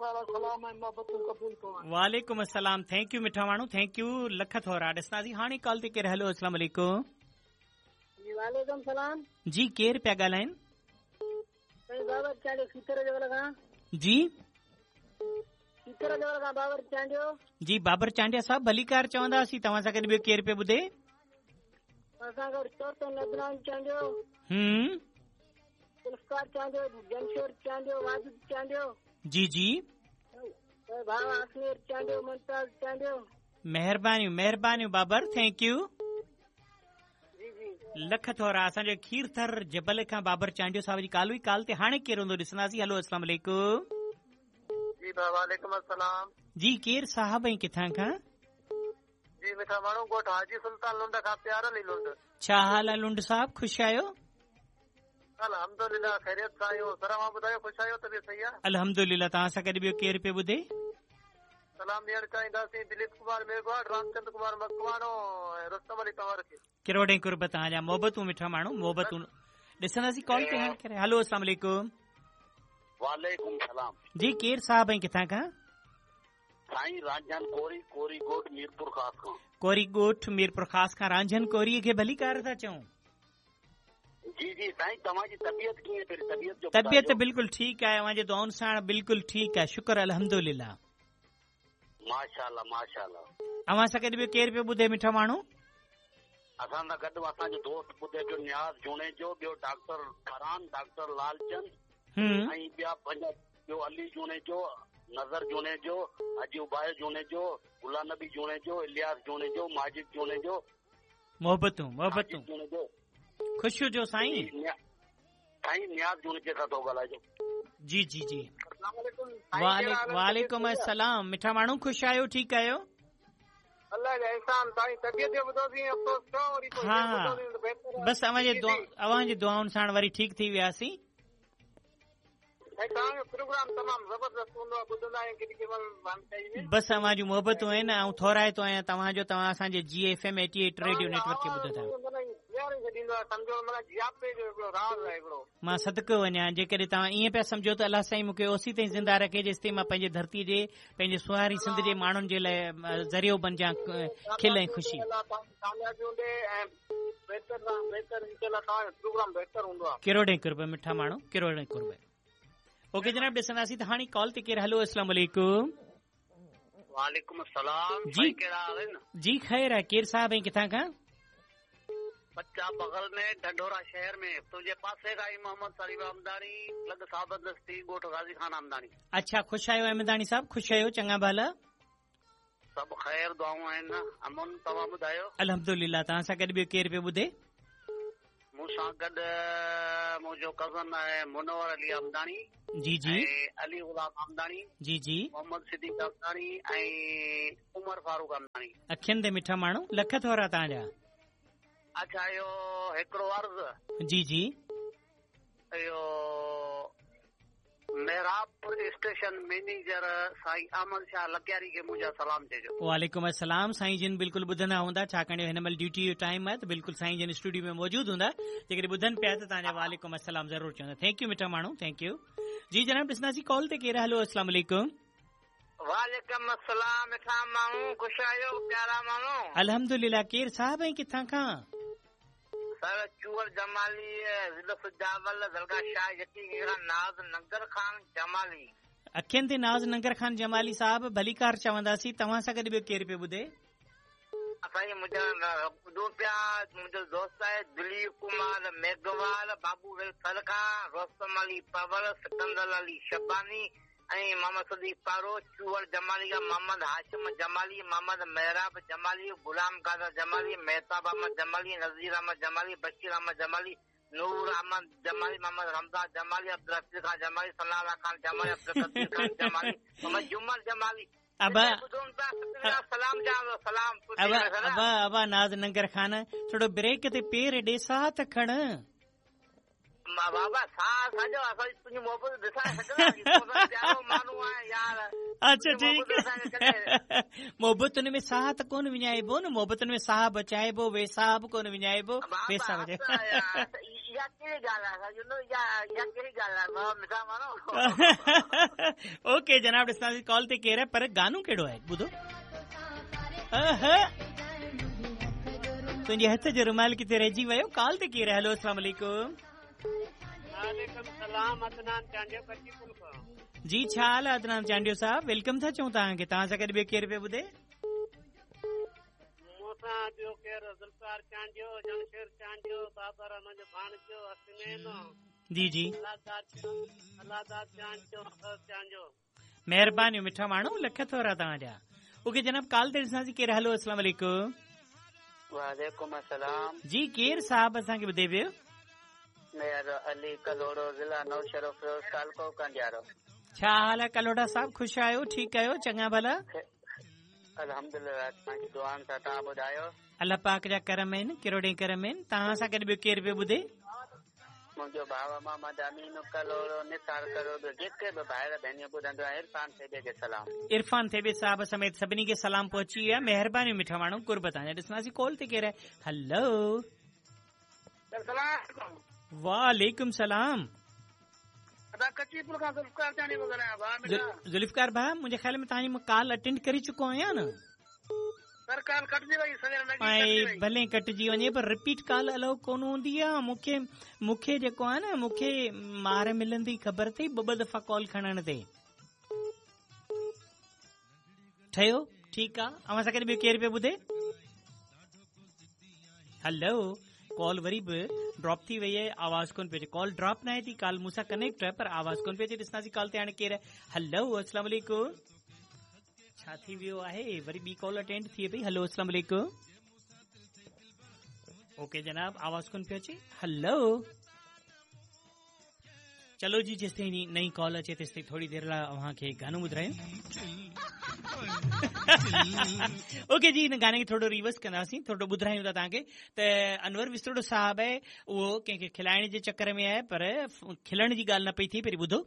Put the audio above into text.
سلام ۽ محبتون قبول پون. وعليڪم السلام thank you مٺا ماڻهو thank you lakh ٿورا ڏسنداسين هاڻي ڪال تي ڪير هيلو السلام عليڪم. جي وعليڪم سلام. جي ڪير پيا ڳالهائين. سائين بابر چانڊيو کيرٿر جبل کان. جي. کيرٿر جبل کان بابر چانڊيو. جي بابر چانڊيا صاحب ڀليڪار چونداسين توهان سان گڏ ٻيو ڪير پيو ٻڌي. اسان گڏ چوٿون عدنان چانڊيو. هم. ذوالفقار چانڊيو، جمشير چانڊيو، واجد چانڊيو. جي جي. ڀاء آسمير چانڊيو، ممتاز چانڊيو. مهربانيون مهربانيون بابر thank you. جي جي. لک ٿورا اسان جو کيرٿر جبل کان بابر چانڊيو صاحب جي ڪال هئي ڪال تي هاڻي ڪير هوندو ڏسنداسين هلو اسلام عليڪم. جي ڀاء وعليڪم السلام. جي ڪير صاحب ۽ ڪٿان کان؟ جي مٺا ماڻهو ڳوٺ حاجي سلطان لنڊ کان پيار علي لنڊ. ڇا حال آهي لنڊ صاحب خوش آهيو؟ الحمدلله خيريت سان آهيون سر اوهان ٻڌايو خوش آهيو طبيعت صحيح آهي؟ الحمدلله توهان سان گڏ ٻيو ڪير پيو ٻڌي؟ سلام ڏيڻ چاهينداسين دليپ ڪمار ميگهواڙ رامچند ڪمار مڪواڻو ۽ رستم علي تنور کي. ڪروڙين قرب توهان جا محبتون مٺا ماڻهو محبتون ڏسنداسين ڪال تي هاڻي ڪير هلو اسلام عليڪم. وعليڪم سلام. جي ڪير صاحب ۽ ڪٿان کان؟ سائين رانجهن ڪوري، ڪوري ڳوٺ ميرپورخاص کان. ڪوري ڳوٺ ميرپورخاص کان رانجهن ڪوري کي ڀليڪار ٿا چئون. جي جي سائين توهان جي طبيعت ڪيئن پهرين طبيعت جو طبيعت بلڪل ٺيڪ آهي اوهان جي دعائن ساڻ بلڪل ٺيڪ آهي شڪر الحمدلله. ماشاءالله ماشاءالله. اوهان سان گڏ ٻيو ڪير پيو ٻڌي مٺا ماڻهو؟ اسان سان گڏ اسان جو دوست ٻڌي پيو نياز جوڻيجو ٻيو ڊاڪٽر فرحان ڊاڪٽر لالچند ۽ ٻيا پنهنجا ٻيو علي جوڻيجو نظر جوڻيجو حاجي ابايو جوڻيجو غلام نبي جوڻيجو الياس جوڻيجو ماجد جوڻيجو محبتون محبتون خوش هجو سائين. سائين نياز جوڻيجي سان ٿو ڳالهائجو. جي جي جي وعليڪم السلام مٺا ماڻهو خوش آهيو ٺيڪ آهيو. الله جا احسان سائين طبيعت جو ٻڌوسين افسوس ٿيو وري پوء ها بس اوهان جي اوهان جي دعائن ساڻ وري ٺيڪ ٿي وياسين. سائين توهان جو پروگرام تمام زبردست هوندو آهي ٻڌندا آهيون ڪيڏي ڪيڏي مهل واندڪائي ۾. بس اوهان جون محبتون آهن آئون ٿورائتو آهيان توهان جو توهان اسان جي جي F M 88 radio net work کي ٻڌو ٿا. مان صدقو وڃان جيڪڏهن توهان ائين پيا سمجهو ته الله سائين مون کي اوسي تائين زنده رکي جيستائين مان پنهنجي ڌرتي جي پنهنجي سونهاري سنڌ جي ماڻهن جي لاء ذريعو بنجان کل ۽ خوشي. ڪروڙين قرب مٺا ماڻهو ڪروڙين قرب اوڪي جناب ڏسنداسين ته هاڻي ڪال تي ڪير هلو اسلام عليڪم. وعليڪم السلام جي ڪهڙا حال آهن. جي خير آهي ڪير صاحب ۽ ڪٿان کان. بچا بغل ۾ ڍنڍورا شهر ۾ تنهنجي پاسي کان ئي محمد صليب احمداڻي لڳ ثابت دستي ڳوٺ غازي خان احمداڻي. اڇا خوش آهيو احمداڻي صاحب خوش آهيو چڱا ڀلا. سڀ خير دعائون آهن امن توهان ٻڌايو. الحمدلله توهان سان گڏ ٻيو ڪير پيو ٻڌي. مون سان گڏ منهنجو ڪزن آهي منور علي احمداڻي جي جي ۽ علي غلام احمداڻي جي جي محمد صديق احمداڻي ۽ عمر فاروق احمداڻي. اکين تي مٺا ماڻهو لک ٿورا توهان جا. اڇا اهو هڪڙو عرض. جي جي. اهو محرابپور اسٽيشن مئنيجر سائين احمد شاهه لڪياري کي منهنجا سلام چئجو. وعليڪم السلام سائين جن بلڪل ٻڌندا هوندا ڇاڪاڻ جو هن مهل ڊيوٽي جو ٽائيم آهي ته بلڪل سائين جن اسٽوڊيو ۾ موجود هوندا جيڪڏهن ٻڌن پيا ته توهان جا وعليڪم السلام ضرور چوندا thank you مٺا ماڻهو thank you جي جناب ڏسنداسين ڪال تي ڪير هلو السلام عليڪم. وعليڪم السلام مٺا ماڻهو خوش آهيو پيارا ماڻهو. الحمدلله ڪير صاحب ۽ ڪٿان کان. سر چوهڙ جمالي ضلع سجاول درگاهه شاهه يقين کان ناز ننگر خان جمالي. اکين تي ناز ننگر خان جمالي صاحب ڀليڪار چونداسين توهان سان گڏ ٻيو ڪير پيو ٻڌي. سائين منهنجا ٻڌون پيا منهنجو دوست آهي دليپ ڪمار ميگهوال بابو ويلفر کان رستم علي پنهور سڪندر علي شباني ۽ محمد صديق پارو، چوهڙ جمالي کان محمد هاشم جمالي، محمد محراب جمالي، غلام قادر جمالي، مهتاب احمد جمالي، نذير احمد جمالي، بشير احمد جمالي، نور احمد جمالي، محمد رمضان جمالي، عبدالحفيظ خان جمالي، ثناء الله خان جمالي، عبدالقدير خان جمالي، محمد جمن جمالي. ابا سلام ابا ابا ابا ناز ننگر خان ٿورو بريڪ تي پير ڏي ساهه ته کڻ. بابا ساهه سڄو اسان تنهنجي محبت ڏسائي سگهنداسين تو سان پيارو ماڻهو آهي يار. اڇا ٺيڪ محبتن ۾ ساهه ته ڪونه وڃائبو نه محبتن ۾ ساهه بچائبو ويساهه به ڪونه وڃائبو ويساهه بچائبو اها ڪهڙي ڳالهه آهي اها ڪهڙي ڳالهه آهي مٺا ماڻهو اوڪي جناب ڏسنداسين ڪال تي ڪير آهي پر گانو ڪهڙو آهي ٻڌو تنهنجي هٿ جو رومال ڪٿي رهجي ويو ڪال تي ڪير آهي هلو السلام عليڪم وعليڪم السلام عدنان چانڊيو ڪچي پل کان. جي ڇا حال آهي عدنان چانڊيو صاحب welcome ٿا چئون توهان کي توهان سان گڏ ٻيو ڪير پيو ٻڌي؟ مون سان ٻيو ڪير ذوالفقار چانڊيو جمشير چانڊيو بابر منهنجو ڀاڻيجو حسنين جي جي الله داد چانڊيو اصغر چانڊيو. مهربانيون مٺا ماڻهو لک ٿورا توهان جا اوڪي جناب ڪال تي ڏسنداسين ڪير هلو السلام عليڪم. وعليڪم السلام. جي ڪير صاحب اسان کي ٻڌي پيو. ميهر علي ڪلهوڙو ضلع نوشهروفيروز تعلقو ڪنڊيارو. ڇا حال آهي ڪلهوڙا صاحب خوش آهيو ٺيڪ آهيو چڱا ڀلا. الحمدلله توهان جي دعائن سان توهان ٻڌايو. الله پاڪ جا ڪرم آهن ڪروڙين ڪرم آهن توهان سان گڏ ٻيو ڪير پيو ٻڌي. منهنجو ڀاء محمد امين ڪلهوڙو نثار ڪلهوڙو جيڪي به ڀائر ڀينريون ٻڌنديون آهن عرفان ٿيٻي کي سلام. عرفان ٿيٻي صاحب سميت سڀني کي سلام پهچي ويو آهي مهربانيون مٺا ماڻهو قرب توهان جا ڏسنداسين ڪال تي ڪير آهي هلو. وعليڪم سلام. ادا ڪچي پل کان ذوالفقار چانڊيو پيو ڳالهايان ڀاء مٺا. ذوالفقار ڀاء منهنجي خيال ۾ توهان جي مان ڪال اٽينڊ ڪري چڪو آهيان نه. سر ڪال ڪٽجي وئي سوير لڳي ڪٽجي وئي. ڀلي ڪٽجي وڃي پر رپيٽ ڪال الائو ڪونه هوندي آ مونکي مونکي جيڪو آ نه مونکي مار ملندي خبر اٿئي ٻه ٻه دفعا ڪال کڻڻ تي. ٺهيو ٺيڪ آ اوهان سان گڏ ٻيو ڪير پيو ٻڌي هلو ڪال وري به ڊراپ ٿي وئي آهي آواز ڪون پيو اچي ڪال ڊراپ ناهي ٿي ڪال مون سان ڪنيڪٽ آهي پر آواز ڪون پيو اچي ڏسنداسين ڪال تي هاڻي ڪير آهي هلو السلام عليڪم ڇا ٿي ويو آهي وري ٻي ڪال اٽينڊ ٿئي پئي هلو السلام عليڪم اوڪي جناب آواز ڪون پيو اچي هلو چلو جي جيستائين نئين ڪال اچي تيستائين ٿوري دير لاء اوهان کي گانو ٻڌايون اوڪي جي هن گاني کي ٿورو ريورس ڪنداسين ٿورو ٻڌايون ٿا توهان کي ته انور وسطڙو صاحب آهي اهو ڪنهن کي کلائڻ جي چڪر ۾ آهي پر کلڻ جي ڳالهه نه پئي ٿئي پهرين ٻڌو.